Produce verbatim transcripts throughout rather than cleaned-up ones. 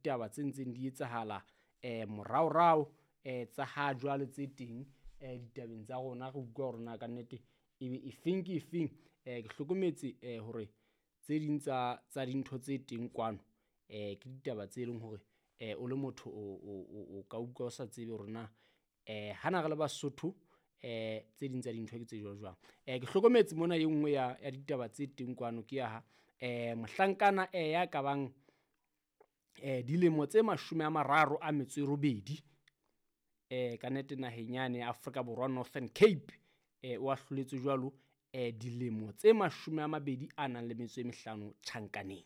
ditaba tse ntseng di etsahala eh moraorao eh tsa ha jwale tse teng eh ditabeng tsa rona, re utlwa hore na ka nnete ebe efeng ke efeng. Eh ke hlokometse eh hore tse ding tsa tsa dintho tse teng kwano eh ke ditaba tse leng hore eh o le motho o o ka utlwa o sa tsebe hore na eh hana re le Basotho eh tse ding tsa dintho ke tse jwang jwang. Eh ke hlokometse mona e nngwe ya ya ditaba tse teng kwano ke ya ha eh mohlankana eh ya ka bang eh dilemo tse mashome a mararo a metso e robedi eh ka nnete naheng yane ya Afrika Borwa Northern Cape eh o ahloletswe jwalo eh dilemo tse mashome a mabedi a nang le metso e mehlano tjhankaneng.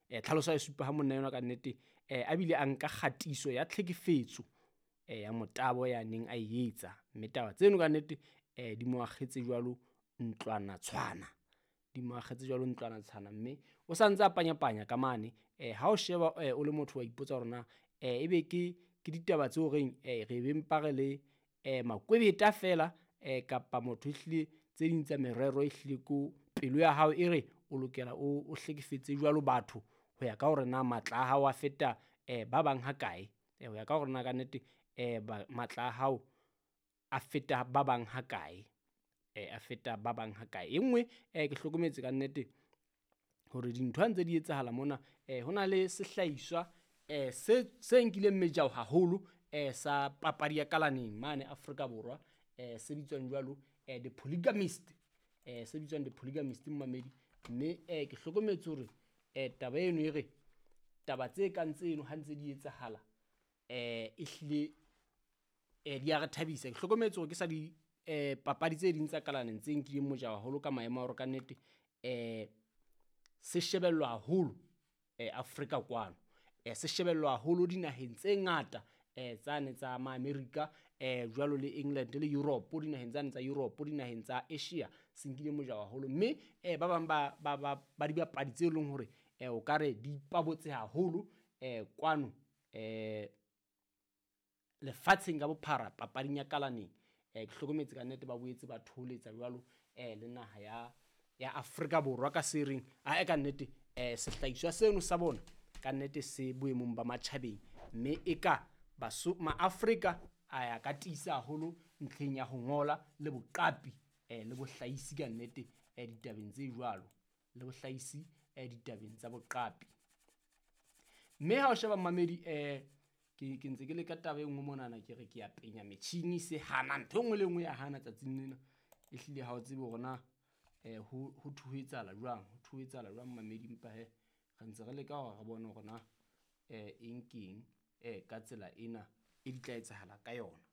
Eh tlhaloso e supa ha monna enwa ka nnete eh a bile a nka kgatiso ya tlhekefetso eh ya motabo ya neng a e etsa, mme taba tseno ka nnete eh di mo akgetse jwalo ntlwana tshwana, di mo akgetse jwalo ntlwana tshwana, mme o sa ntse a panyapanya ka mane. Eh ha o sheba eh o le motho wa ipotsa hore na eh ebe ke ke ditaba tseo reng eh re be mpa re le eh makwebeta fela eh kapa motho ehlile tse ding tsa merero ehlile ko pelo ya hao e re o lokela o o hlekefetse jwalo batho ho ya ka hore na matla a hao a feta eh ba bang ha kae, eh ho ya ka hore na ka nnete eh matla a hao a feta ba bang ha kae, eh a feta ba bang ha kae. E nngwe eh ke hlokometse ka nnete hore dintho ha ntse di etsahala mona eh ho na le sehlahiswa eh se se nkileng mejao haholo eh sa papadi ya kalaneng mane Afrika Borwa eh se bitswang jwalo eh The Polygamist, eh se bitswang The Polygamist mmamedi, mme eh ke hlokometse hore eh taba eno e re taba tse kang tseno ha ntse di etsahala eh ehlile eh di a re thabisa. Ke hlokometse hore ke sa di eh papadi tse ding tsa kalaneng tse nkileng mojao haholo ka maemo a hore ka nnete eh se shebellwa haholo eh Afrika kwano, eh se shebellwa haholo dinaheng tse ngata eh tsane tsa ma-Amerika eh jwalo le England le Europe, dinaheng tsane tsa Europe, dinaheng tsa Asia se nkile mojao haholo, mme eh ba bang ba ba ba dibapadi tse leng hore eh o ka re di ipabotse haholo eh kwano eh lefatsheng ka bophara papading ya kalaneng. Eh ke hlokometse ka nnete ba boetse ba thoholetsa jwalo eh le naha ya ya Afrika Borwa ka se reng a e ka nnete eh sehlahiswa seno sa bona ka nnete se boemong ba matjhabeng, mme e ka baso ma-Afrika a ya ka tiisa haholo ntlheng ya ho ngola le boqapi eh le bohlahisi ka nnete eh ditabeng tse jwalo, le bohlahisi eh ditabeng tsa boqapi. Mme ha o sheba mmamedi eh ke ke ntse ke le ka taba e nngwe monana, ke re ke ya penya metjhini se hana ntho e nngwe le nngwe ya hana tsatsing lena, ehlile ha o tsebe hore na eh ho ho thuhetsahala jwang, ho thuhetsahala jwang mmamedi, empa he re ntse re leka hore re bone hore na eh eng keng eh ka tsela ena e di tla etsahala ka yona.